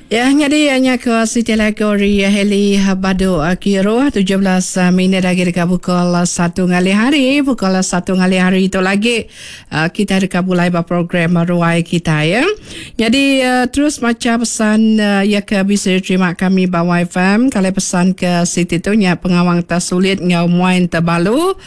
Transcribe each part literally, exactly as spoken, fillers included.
Ya, jadi hanya ke Siti Lagori Heli Badu Kiru tujuh belas minit lagi dekat pukul satu ngalih hari. Pukul satu ngalih hari itu lagi kita dekat mulai program ruai kita ya. Jadi terus baca pesan ya ke bisa diterima kami ba Y F M. Kalau pesan ke Siti tu nya pengawang tersulit ngau muain terbalu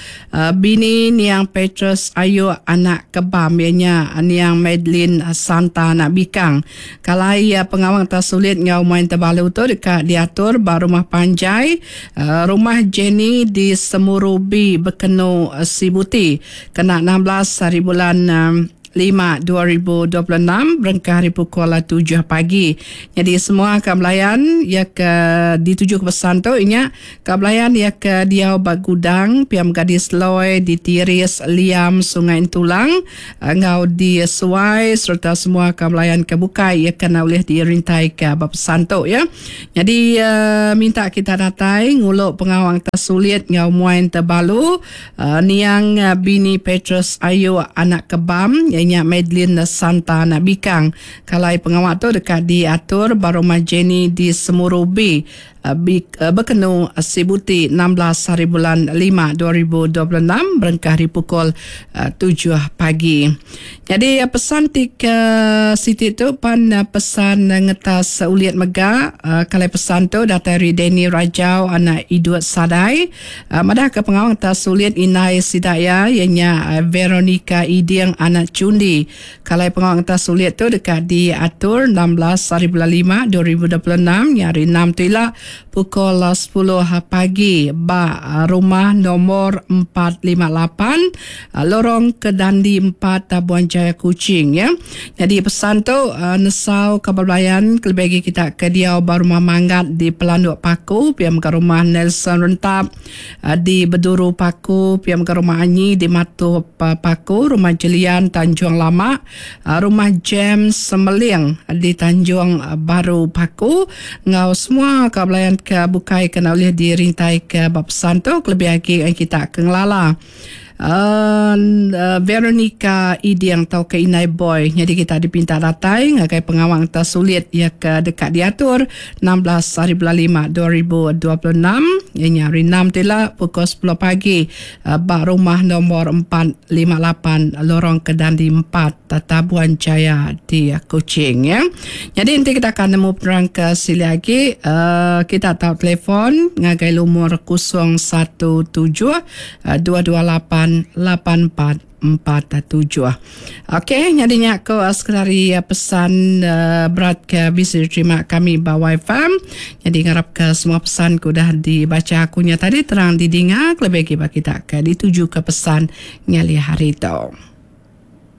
bini niang Petrus Ayu anak kebam ianya niang Madeline Santa anak Bikang. Kalau ia pengawang tersulit sulit ngau main terbalu tu dekat diatur ba rumah panjai uh, rumah Jenny di Semurubi Bekenu uh, Sibuti kena enam belas hari bulan um, lima dua ribu dua puluh enam berengkah hari pukul tujuh pagi. Jadi semua akan belayan ya ke dituju ke pesan tu inya ke belayan ya ke diau bagudang piam gadis loi di Tiris Liam Sungai Entulang ngau di Suai serta semua akan belayan ke bukai ya kena oleh dirintai ke pesan tu ya. Jadi uh, minta kita datai nguluk pengawang tersulit ngau muain terbalu uh, niang uh, bini Petrus Ayu anak kebam ianya Madeline Santa anak Bikang. Kalau pengawal tu dekat diatur baru rumah Jenny di Semurubi Bekenu Sibuti enam belas hari bulan lima dua ribu dua puluh enam berengkah hari pukul tujuh pagi. Jadi pesan tiga Siti tu pan pesan ngetas uliat mega kalau pesan tu datai dari Danny Rajau anak Idut Sadai madah ke pengawang ngetas uliat Inai Sidaya ianya Veronica Iding anak Cundi. Kalau pengawang ngetas uliat tu dekat diatur enam belas hari bulan lima dua ribu dua puluh enam hari enam tu ila pukul sepuluh pagi ba rumah nomor empat lima lapan Lorong Kedandi empat Tabuan Jaya Kuching ya. Jadi pesan tu uh, nesau kabar belayan kelebih kita ke dia ba rumah Manggat di Pelanduk Paku piam ke rumah Nelson Rentap uh, di Beduru Paku piam ke rumah Anyi di Matup uh, Paku, rumah Jelian Tanjung Lama, uh, rumah James Semeling di Tanjung Baru Paku ngau semua kabar belayan ke bukai kena oleh dirintai ke bab pesan tu kelebih lagi kita ke ngelala. Uh, uh, Veronica Iding atau ke Inai Boy. Jadi kita dipinta datai ngagai pengawang tersulit ya ke dekat diatur enam belas hari bulan lima dua ribu dua puluh enam ianya hari enam tila pukul sepuluh pagi uh, bak rumah nomor empat lima lapan Lorong Kedandi empat Tabuan Jaya di Kuching ya. Jadi nanti kita akan nemu penerang ke sini lagi uh, kita tahu telefon ngagai lumur kosong satu tujuh dua dua lapan lapan empat empat tujuh. Okey, jadinya aku sekali pesan uh, berat ke bisa diterima kami ba Y F M. Jadi ngarap ke semua pesan ku dah dibaca akunya tadi terang didengar lebih bagi kita ke dituju ke pesan nyali hari tu.